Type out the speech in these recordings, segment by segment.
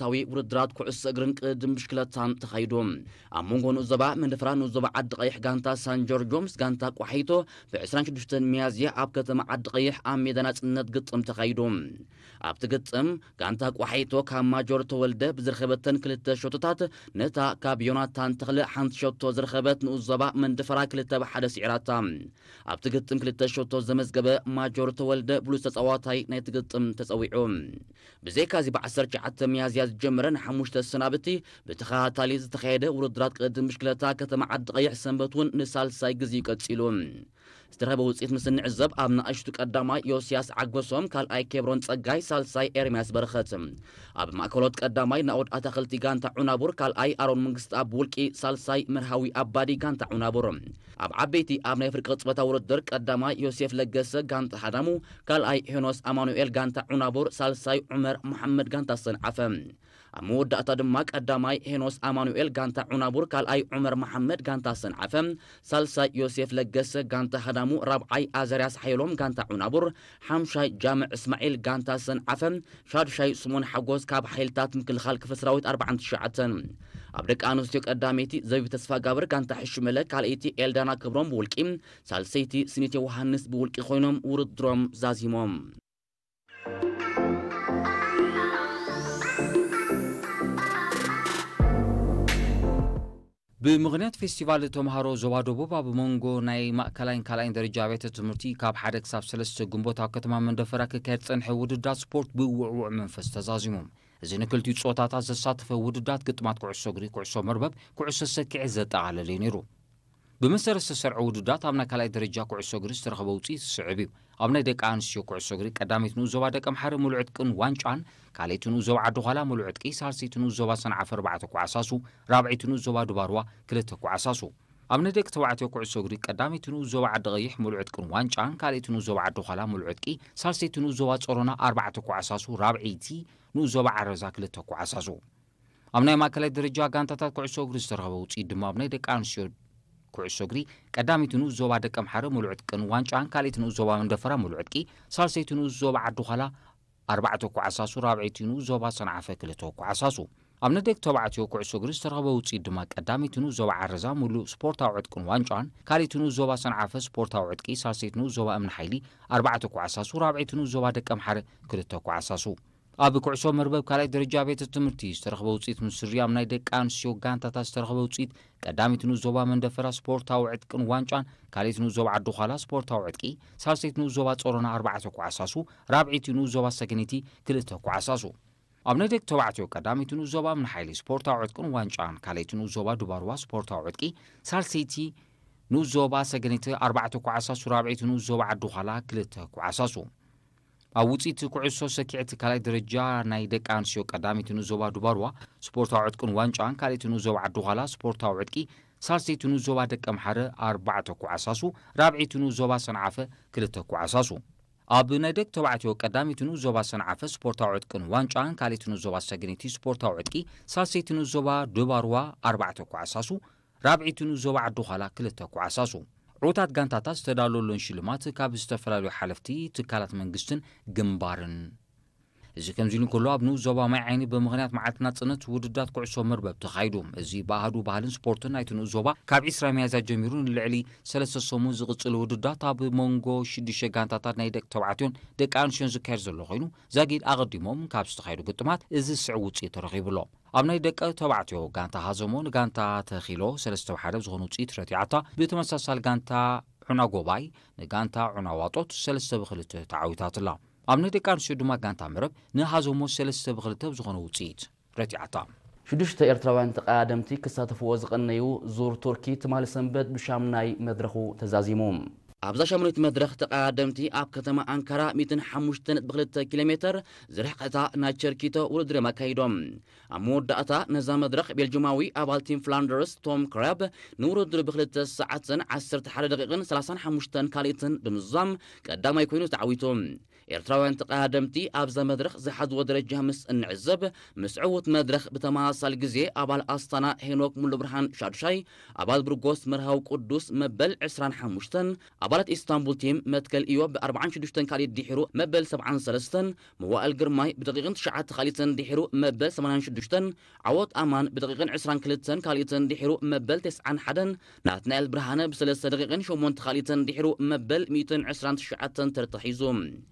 ስፖርታዊ ውድድራት ኩዕሶ እግርን ቅድም ብሽክለታን ተኻይዱ። ኣብ መንጎ ንኡስ ዞባ መንደፈራ ንኡስ ዞባ ዓዲ ቀይሕ ጋንታ ሳን ጆርጆ ምስ ጋንታ ቋሒቶ ብ ዕስራን ሽዱሽተን ሚያዝያ ኣብ ከተማ ዓዲ ቀይሕ ኣብ ሜዳ ናጽነት ግጥም ተኻይዱ። ኣብቲ ግጥም ጋንታ ቋሒቶ ካብ ማጆር ተወልደ ብዝረኸበተን ክልተ ሸቶታት ነታ ካብ ዮናታን ተኽለ ሓንቲ ሸቶ ዝረኸበት ንኡስ ዞባ መንደፈራ ክልተ ብ ሓደ ስዒራታ። ኣብቲ ግጥም ክልተ ሸቶ ዘመዝገበ ማጆር ተወልደ ብሉጽ ተጻዋታይ ናይቲ ግጥም ተጸዊዑ። ብዘይካዚ ብ ዓሰርተ ትሽዓተ ሚያዝያ ዝጀመረ ንሓሙሽተ ሰናብቲ ብተኸታታሊ ዝተኻየደ ውድድራት ቅድም ብሽክለታ ከተማ ዓዲ ቀይሕ ሰንበት እውን ንሳልሳይ ግዜ ቀጺሉ። ዝተረኸበ ውፅኢት ምስ እንዕዘብ ኣብ ንኣሽቱ ቀዳማይ ዮስያስ ዓገሶም፣ ካልኣይ ኬብሮን ጸጋይ፣ ሳልሳይ ኤርምያስ በረኸት። ኣብ ማእከሎት ቀዳማይ ናኦድ ኣታኽልቲ ጋንታ ዑናቡር፣ ካልኣይ ኣሮን መንግስቲ ኣብ ውልቂ፣ ሳልሳይ መርሃዊ ኣባዲ ጋንታ ዑናቡር። ኣብ ዓበይቲ ኣብ ናይ ፍርቂ ቅጽበታ ውድድር ቀዳማይ ዮሴፍ ለገሰ ጋንታ ሃዳሙ፣ ካልኣይ ሄኖስ ኣማኑኤል ጋንታ ዑናቡር፣ ሳልሳይ ዑመር መሓመድ ጋንታ ሰንዓፈ። ኣብ መወዳእታ ድማ ቀዳማይ ሄኖስ ኣማኑኤል ጋንታ ዑናቡር፣ ካልኣይ ዑመር መሓመድ ጋንታ ሰንዓፈ፣ ሳልሳይ ዮሴፍ ለገሰ ጋንታ ሃዳሙ፣ ራብዓይ ኣዘርያስ ሓየሎም ጋንታ ዑናቡር፣ ሓምሻይ ጃምዕ እስማዒል ጋንታ ሰንዓፈ፣ ሻድሻይ ስሞን ሓጎስ ካብ ሓይልታት ምክልኻል ክፍለ ሰራዊት ኣርባዓን ትሽዓተን። ኣብ ደቂ ኣንስትዮ ቀዳመይቲ ዘቢብ ተስፋጋብር ጋንታ ሕሽመለ፣ ካልኣይቲ ኤልዳና ክብሮም ብውልቂ፣ ሳልሰይቲ ስኒት ዮውሃንስ ብውልቂ ኮይኖም ውድድሮም ዛዚሞም። ብምኽንያት ፌስቲቫል ተምሃሮ ዞባ ደቡብ ኣብ መንጎ ናይ ማእከላይን ካልኣይን ደረጃ ኣብያተ ትምህርቲ ካብ ሓደ ክሳብ ሰለስተ ግንቦት ኣብ ከተማ መንደፈራ ክካየድ ዝጸንሐ ውድድራት ስፖርት ብውዕዉዕ መንፈስ ተዛዚሙ። እዚ ንክልቲኡ ጾታታት ዘሳተፈ ውድድራት ግጥማት ኩዕሶ እግሪ፣ ኩዕሶ መርበብ፣ ኩዕሶ ሰኪዔት ዘጠቓለለ እዩ ነይሩ። ብመሰረት ዝተሰርዐ ውድድራት ኣብ ናይ ካልኣይ ደረጃ ኩዕሶ እግሪ ዝተረኸበ ውፅኢት ዝስዕብ እዩ። ኣብ ናይ ደቂ ኣንስትዮ ኩዕሶ እግሪ ቀዳመይቲ ንኡስ ዞባ ደቀምሓረ ሙሉዕ ዕጥቅን ዋንጫን፣ ካልኣይቲ ንኡስ ዞባ ዓዲ ዃላ ሙሉዕ ዕጥቂ፣ ሳልሰይቲ ንኡስ ዞባ ሰንዓፈ ኣርባዕተ ኳዕሳሱ፣ ራብዐይቲ ንኡስ ዞባ ድባርዋ ክልተ ኳዕሳሱ። ኣብ ናይ ደቂ ተባዕትዮ ኩዕሶ እግሪ ቀዳመይቲ ንኡስ ዞባ ዓዲ ቀይሕ ሙሉዕ ዕጥቅን ዋንጫን፣ ካልኣይቲ ንኡስ ዞባ ዓዲ ዃላ ሙሉዕ ዕጥቂ፣ ሳልሰይቲ ንኡስ ዞባ ጸሮና ኣርባዕተ ኳዕሳሱ፣ ራብዐይቲ ንኡስ ዞባ ዓረዛ ክልተ ኳዕሳሱ። ኣብ ናይ ማእከላይ ደረጃ ጋንታታት ኩዕሶ እግሪ ዝተረኸበ ውፅኢት ድማ ኣብ ናይ ደቂ ኣንስትዮ ኩዕሶ እግሪ ቀዳመይቲ ንኡስ ዞባ ደቀምሓረ ሙሉዕ ዕጥቅን ዋንጫን፣ ካልኣይቲ ንኡስ ዞባ መንደፈራ ሙሉዕ ዕጥቂ፣ ሳልሰይቲ ንኡስ ዞባ ዓዲ ዃላ ኣርባዕተ ኳዕሳሱ፣ ራብዐይቲ ንኡስ ዞባ ሰንዓፈ ክልተ ኳዕሳሱ። ኣብ ናይ ደቂ ተባዕትዮ ኩዕሶ እግሪ ዝተረኸበ ውፅኢት ድማ ቀዳመይቲ ንኡስ ዞባ ዓረዛ ሙሉእ ስፖርታዊ ዕጥቅን ዋንጫን፣ ካልኣይቲ ንኡስ ዞባ ሰንዓፈ ስፖርታዊ ዕጥቂ፣ ሳልሰይቲ ንኡስ ዞባ እምኒ ሓይሊ ኣርባዕተ ኳዕሳሱ፣ ራብዐይቲ ንኡስ ዞባ ደቀምሓረ ክልተ ኳዕሳሱ። ኣብ ኩዕሶ መርበብ ካልኣይ ደረጃ ቤት ትምህርቲ ዝተረኽበ ውፅኢት ምስሪ ኣብ ናይ ደቂ ኣንስትዮ ጋንታታት ዝተረኽበ ውፅኢት ቀዳሚት ንኡስ ዞባ መንደፈራ ስፖርታዊ ዕጥቅን ዋንጫን፣ ካልኣይቲ ንኡስ ዞባ ዓዲ ዃላ ስፖርታዊ ዕጥቂ፣ ሳልሰይቲ ንኡስ ዞባ ጾሮና ኣርባዕተ ኳዕሳሱ፣ ራብዐይቲ ንኡስ ዞባ ሰገነይቲ ክልተ ኳዕሳሱ። ኣብ ናይ ደቂ ተባዕትዮ ቀዳሚት ንኡስ ዞባ እምኒ ሓይሊ ስፖርታዊ ዕጥቅን ዋንጫን፣ ካልኣይቲ ንኡስ ዞባ ዱባርዋ ስፖርታዊ ዕጥቂ፣ ሳልሰይቲ ንኡስ ዞባ ሰገነይቲ ኣርባዕተ ኳዕሳሱ፣ ራብዐይቲ ንኡስ ዞባ ዓዲ ዃላ ክልተ ኳዕሳሱ። ኣብ ውፅኢት ኩዕሶ ሰኪዐት ካልኣይ ደረጃ ናይ ደቂ ኣንስትዮ ቀዳመይቲ ንኡስ ዞባ ዱባርዋ ስፖርታዊ ዕጥቅን ዋንጫን፣ ካልኣይቲ ንኡስ ዞባ ዓዲ ዃላ ስፖርታዊ ዕጥቂ፣ ሳልሰይቲ ንኡስ ዞባ ደቀምሓረ ኣርባዕተ ኳዕሳሱ፣ ራብዐይቲ ንኡስ ዞባ ሰንዓፈ ክልተ ኳዕሳሱ። ኣብ ናይ ደቂ ተባዕትዮ ቀዳመይቲ ንኡስ ዞባ ሰንዓፈ ስፖርታዊ ዕጥቅን ዋንጫን፣ ካልኣይቲ ንኡስ ዞባ ሰገነይቲ ስፖርታዊ ዕጥቂ፣ ሳልሰይቲ ንኡስ ዞባ ድባርዋ ኣርባዕተ ኳዕሳሱ፣ ራብዐይቲ ንኡስ ዞባ ዓዲ ዃላ ክልተ ኳዕሳሱ። ዕዉታት ጋንታታት ዝተዳለወሎን ሽልማት ካብ ዝተፈላለዩ ሓለፍቲ ትካላት መንግስትን ግንባርን። እዚ ከምዚ ኢሉ እንከሎ፣ ኣብ ንኡስ ዞባ ማይ ዓይኒ ብምኽንያት መዓልቲ ናጽነት ውድድራት ኩዕሶ መርበብ ተኻይዱ። እዚ ብኣሃዱ ባህልን ስፖርትን ናይቲ ንኡስ ዞባ ካብ ዕስራ ሚያዝያ ጀሚሩ ንልዕሊ ሰለስተ ሰሙን ዝቕጽል ውድድራት ኣብ መንጎ ሽዱሽተ ጋንታታት ናይ ደቂ ተባዕትዮን ደቂ ኣንስትዮን ዝካየድ ዘሎ ኮይኑ፣ ዛጊድ ኣቐዲሞም ካብ ዝተኻየዱ ግጥማት እዚ ዝስዕብ ውጽኢት ተረኺቡ ኣሎ። ኣብ ናይ ደቂ ተባዕትዮ ጋንታ ሃዘሞ ንጋንታ ተኺሎ ሰለስተ ብ ሓደ ብዝኾነ ውጽኢት ረቲዓታ። ብተመሳሳሊ ጋንታ ዑና ጎባይ ንጋንታ ዑና ዋጦት ሰለስተ ብ ክልተ ተዓዊታትላ። ኣብ ናይ ደቂ ኣንስትዮ ድማ ጋንታ መረብ ንሃዘሞ ሰለስተ ብ ክልተ ብዝኾነ ውጽኢት ረቲዓታ። ሽዱሽተ ኤርትራውያን ተቐዳደምቲ ክሳተፍዎ ዝቐነዩ ዙር ቱርኪ ትማሊ ሰንበት ብሻምናይ መድረኹ ተዛዚሙ። ኣብዛ ሻምናይት መድረኽ ተቐዳደምቲ ኣብ ከተማ ኣንካራ ሚእትን ሓሙሽተን ነጥቢ ክልተ ኪሎ ሜተር ዝርሕቐታ ናይ ቸርኪቶ ውድድር እዮም ኣካይዶም። ኣብ መወዳእታ ነዛ መድረኽ ቤልጅማዊ ኣባል ቲም ፍላንደርስ ቶም ክራብ ንውድድር ብክልተ ሰዓትን ዓሰርተ ሓደ ደቂቕን ሰላሳን ሓሙሽተን ካልኢትን ብምዝዛም ቀዳማይ ኮይኑ ተዓዊቱ። ኤርትራውያን ተቐዳደምቲ ኣብዛ መድረኽ ዝሓዝዎ ደረጃ ምስ እንዕዘብ፣ ምስ ዕዉት መድረኽ ብተመሳሳሊ ግዜ ኣባል ኣስታና ሄኖክ ሙሉብርሃን ሻዱሻይ፣ ኣባል ብርጎስ መርሃዊ ቅዱስ መበል ዕስራን ሓሙሽተን፣ ኣባላት ኢስታንቡል ቲም መትከል እዮብ ብ ኣርባዓን ሽዱሽተን ካልኢት ድሒሩ መበል ሰብዓን ሰለስተን፣ መዋእል ግርማይ ብደቂቕን ትሽዓተ ካልኢትን ድሒሩ መበል ሰማንያን ሽዱሽተን፣ ዓወት ኣማን ብደቂቕን ዕስራን ክልተን ካልኢትን ድሒሩ መበል ተስዓን ሓደን፣ ናትናኤል ብርሃነ ብሰለስተ ደቂቕን ሸሞንተ ካልኢትን ድሒሩ መበል ሚእትን ዕስራን ትሽዓተን ተርታ ሒዙ።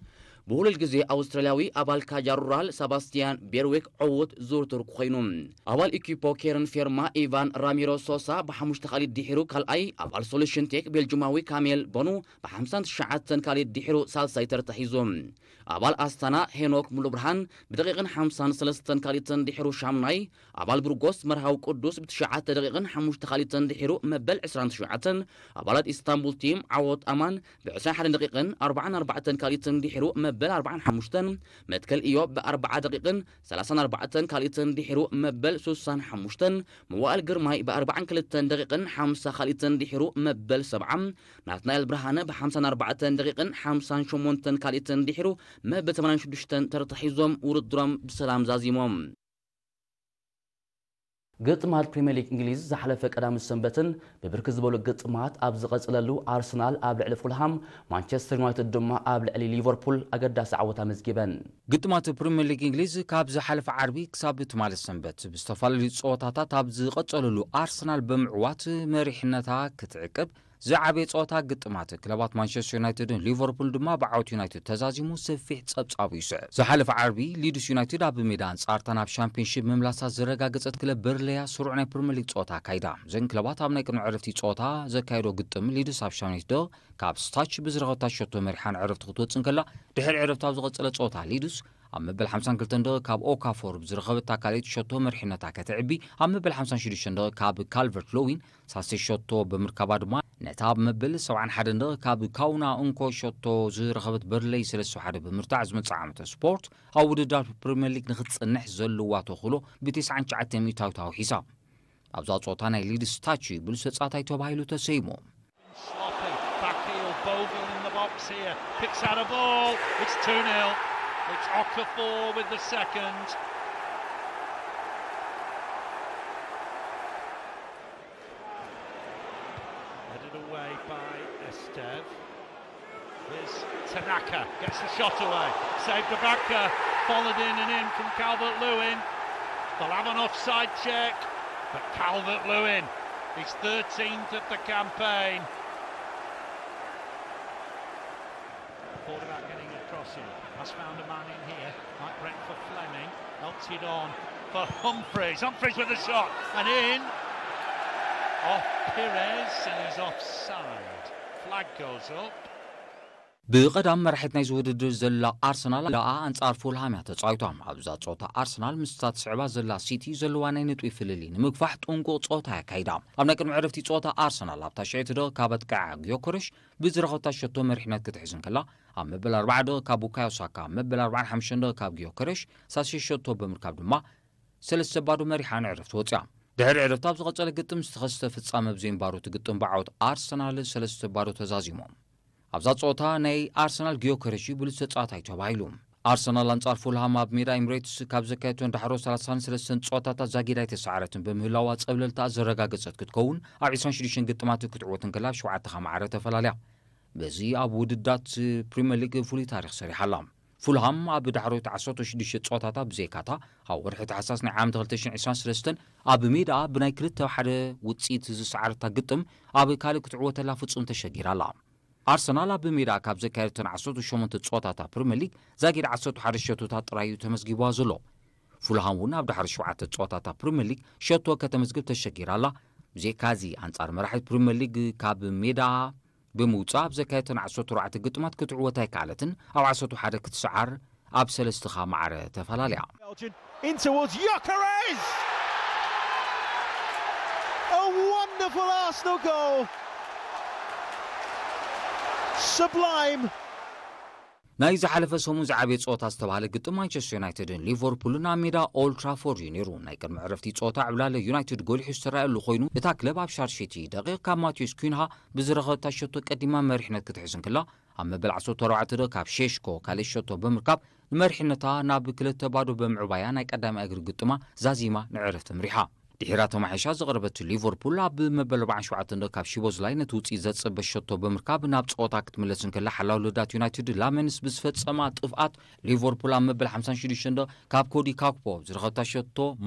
ብውሉል ግዜ ኣውስትራልያዊ ኣባል ካጃ ሩራል ሰባስቲያን ቤርዊክ ዕዉት ዝውርትር ኮይኑ፣ ኣባል ኢኪፖ ኬርን ፌርማ ኢቫን ራሚሮ ሶሳ ብሓሙሽተ ካልኢት ድሒሩ ካልኣይ፣ ኣባል ሶሉሽን ቴክ ቤልጅማዊ ካሜል ቦኑ ብሓምሳን ትሽዓተን ካልኢት ድሒሩ ሳልሳይ ተርታ ሒዙ። ኣባል ኣስታና ሄኖክ ሙሉብርሃን ብደቂቕን ሓምሳን ሰለስተን ካልኢትን ድሒሩ ሻምናይ፣ ኣባል ብርጎስ መርሃዊ ቅዱስ ብትሽዓተ ደቂቕን ሓሙሽተ ካልኢትን ድሒሩ መበል ዕስራን ትሽዓተን፣ ኣባላት ኢስታንቡል ቲም ዓወት ኣማን ብዕስራን ሓደን ደቂቕን ኣርባዓን ኣርባዕተን ካልኢትን ድሒሩ መበል ኣርባዓን ሓሙሽተን፣ መትከል እዮብ ብኣርባዓ ደቂቕን ሰላሳን ኣርባዕተን ካልኢትን ድሒሩ መበል ሱሳን ሓሙሽተን፣ መዋእል ግርማይ ብኣርባዓን ክልተን ደቂቕን ሓምሳ ካልኢትን ድሒሩ መበል ሰብዓ፣ ናትናኤል ብርሃነ ብሓምሳን ኣርባዕተን ደቂቕን ሓምሳን ሸሞንተን ካልኢትን ድሒሩ መበል ሰማንያን ሽዱሽተን ተርታ ሒዞም ውድድሮም ብሰላም ዛዚሞም። ግጥማት ፕሪምየር ሊግ እንግሊዝ ዝሓለፈ ቀዳም ሰንበትን ብብርክት ዝበሉ ግጥማት ኣብ ዝቐጸለሉ፣ ኣርሰናል ኣብ ልዕሊ ፉልሃም፣ ማንቸስተር ዩናይትድ ድማ ኣብ ልዕሊ ሊቨርፑል ኣገዳሲ ዓወት ኣመዝጊበን። ግጥማት ፕሪምየር ሊግ እንግሊዝ ካብ ዝሓለፈ ዓርቢ ክሳብ ትማሊ ሰንበት ብዝተፈላለዩ ጸወታታት ኣብ ዝቐጸለሉ፣ ኣርሰናል ብምዕዋት መሪሕነታ ክትዕቅብ፣ ዝዓበየ ጸወታ ግጥማት ክለባት ማንቸስተር ዩናይትድን ሊቨርፑል ድማ ብዓወት ዩናይትድ ተዛዚሙ ሰፊሕ ጸብጻቡ ይስዕብ። ዝሓለፈ ዓርቢ ሊድስ ዩናይትድ ኣብ ሜዳ ኣንጻር ቶተንሃም ሻምፒዮንሺፕ ምምላሳ ዘረጋገጸት ክለብ በርንሌያ ስሩዕ ናይ ፕሪምየር ሊግ ጸወታ ኣካይዳ። እዘን ክለባት ኣብ ናይ ቅድሚ ዕረፍቲ ጸወታ ዘካየዶ ግጥም፣ ሊድስ ኣብ ሻምናይት ደቂቕ ካብ ስታች ብዝረኸበታ ሸቶ መሪሓ ንዕረፍቲ ክትወጽእ እንከላ፣ ድሕሪ ዕረፍቲ ኣብ ዝቐጸለ ጸወታ ሊድስ ኣብ መበል ሓምሳን ክልተን ደቂቕ ካብ ኦካፎር ብዝረኸበታ ካልኣይቲ ሸቶ መሪሕነታ ከተዕቢ፣ ኣብ መበል ሓምሳን ሽዱሽተን ደቂቕ ካብ ካልቨርት ሎዊን ሳልሰይቲ ሸቶ ብምርካባ ድማ፣ ነታ ኣብ መበል ሰብዓን ሓደን ደቂቕ ካብ ካውና እንኮ ሸቶ ዝረኸበት በርንሌይ ሰለስተ ሓደ ብምርታዕ፣ ዝመጽእ ዓመተ ስፖርት ኣብ ውድድራት ፕሪምየር ሊግ ንኽትጸንሕ ዘለዋ ተኽእሎ ብተስዓን ትሽዓተን ሚእታዊት ኣውሒሳ። ኣብዛ ጸወታ ናይ ሊድስ ታች ብሉጽ ተጻዋታይ ተባሂሉ ተሰይሙ። Sloppy, back heel, Bogle in the box here, picks out a ball, it's two nil, it's Okafor with the second. Headed away by Estev. Here's Tanaka, gets the shot away. Saved Ibaka, followed in and in from Calvert Lewin. They'll have an offside check, but Calvert Lewin, his thirteenth of the campaign. Thought about getting across here. Has found a man in here. Mike Brent for Fleming. Helps it on for Humphreys. Humphreys with a shot and in. Off Pires and he's offside. Flag goes up. ብቐዳም መራሒት ናይዚ ውድድር ዘላ ኣርሰናል ደኣ ኣንጻር ፉልሃም እያ ተጻዊታ። ኣብዛ ጸወታ ኣርሰናል ምስታ ትስዕባ ዘላ ሲቲ ዘለዋ ናይ ነጥቢ ፍልልይ ንምግፋሕ ጥንቁቕ ጸወታ እያ ኣካይዳ። ኣብ ናይ ቅድሚ ዕረፍቲ ጸወታ ኣርሰናል ኣብታ ሽዕቲ ደቂቕ ካብ ኣጥቃዓ ጊዮከረሽ ብዝረኸብታ ሸቶ መሪሕነት ክትሕዝ እንከላ፣ ኣብ መበል ኣርባዓ ደቂቕ ካብ ቡካዮ ሳካ፣ ኣብ መበል ኣርባዓን ሓሙሽተን ደቂቕ ካብ ጊዮከረሽ ሳልሰይቲ ሸቶ ብምርካብ ድማ ሰለስተ ባዶ መሪሓ ንዕረፍቲ ወጽያ። ድሕሪ ዕረፍቲ ኣብ ዝቐጸለ ግጥም ዝተኸስተ ፍጻመ ብዘይምንባሩ፣ እቲ ግጥም ብዓወት ኣርሰናል ሰለስተ ባዶ ተዛዚሙ። ኣብዛ ጸወታ ናይ ኣርሰናል ጊዮከረሽ ብሉጽ ተጻዋታይ ተባሂሉ። ኣርሰናል ኣንጻር ፉልሃም ኣብ ሜዳ ኤምሬትስ ካብ ዘካየደቶን ዳሕሮ ሰላሳን ሰለስተን ጸወታታት ዛጊድ ኣይተሰዓረትን ብምህላዋ፣ ጸብለልታ ዘረጋገጸት ክትከውን፣ ኣብ ዕስራን ሽዱሽተን ግጥማት ክትዕወት እንከላ፣ ኣብ ሸውዓተ ከኣ ማዕረ ተፈላልያ። በዚ ኣብ ውድድራት ፕሪምየር ሊግ ፍሉይ ታሪኽ ሰሪሓ ኣላ። ፉልሃም ኣብ ዳሕሮት ዓሰርተ ሽዱሽተ ጸወታታት ብዘይካታ፣ ኣብ ወርሒ ታሕሳስ ናይ ዓመት ክልተ ሽሕን ዕስራን ሰለስተን ኣብ ሜዳ ብናይ ክልተ ሓደ ውጽኢት ዝሰዓረታ ግጥም ኣብ ካልእ ክትዕወተላ ፍጹም ተሸጊራ ኣላ። ኣርሰናል ኣብ ሜዳ ካብ ዘካየደተን ዓሰርተ ሸሞንተ ጸወታታት ፕሪምየር ሊግ ዛጊድ ዓሰርተ ሓደ ሸቶታት ጥራይ እዩ ተመዝጊብዋ ዘሎ። ፉልሃም እውን ኣብ ዳሕሪ ሸውዓተ ጸወታታት ፕሪምየር ሊግ ሸቶ ከተመዝግብ ተሸጊራ ኣላ። ብዘይካዚ፣ ኣንጻር መራሒት ፕሪምየር ሊግ ካብ ሜዳ ብምውጻእ ኣብ ዘካየደተን ዓሰርተ ኣርባዕተ ግጥማት ክትዕወት ኣይከኣለትን፣ ኣብ ዓሰርተ ሓደ ክትሰዓር ኣብ ሰለስተ ከኣ ማዕረ ተፈላለያ። Belgian in towards Gyökeres! A wonderful Arsenal goal! Sublime! ናይ ዝሓለፈ ሰሙን ዝዓበየ ጸወታ ዝተባህለ ግጥም ማንቸስተር ዩናይትድን ሊቨርፑልን ኣብ ሜዳ ኦልድ ትራፎርድ እዩ ነይሩ። ናይ ቅድሚ ዕረፍቲ ጸወታ ዕብላለ ዩናይትድ ጎሊሑ ዝተረኣየሉ ኮይኑ፣ እታ ክለብ ኣብ ሻርሸይቲ ደቂቕ ካብ ማቴዎስ ኩንሃ ብዝረኸበታ ሸቶ ቀዲማ መሪሕነት ክትሕዝ እንክላ፣ ኣብ መበል ዓሰርተ ኣርባዕተ ደቂቕ ካብ ሼሽኮ ካልእ ሸቶ ብምርካብ ንመሪሕነታ ናብ ክልተ ባዶ ብምዕባያ ናይ ቀዳማይ እግሪ ግጥማ ዛዚማ ንዕረፍቲ ምሪሓ። ድሒራ ተማሒሻ ዝቐረበት ሊቨርፑል ኣብ መበል ኣርባዓን ሸውዓተን ደቂቕ ካብ ሺቦዝላይ ነቲ ውጽኢት ዘጽበ ሸቶ ብምርካብ ናብ ጸወታ ክትምለስ እንከላ፣ ሓላው ልዳት ዩናይትድ ላመንስ ብዝፈጸማ ጥፍኣት ሊቨርፑል ኣብ መበል ሓምሳን ሽዱሽተን ደቂቕ ካብ ኮዲ ካክፖ ዝረኸብታ ሸቶ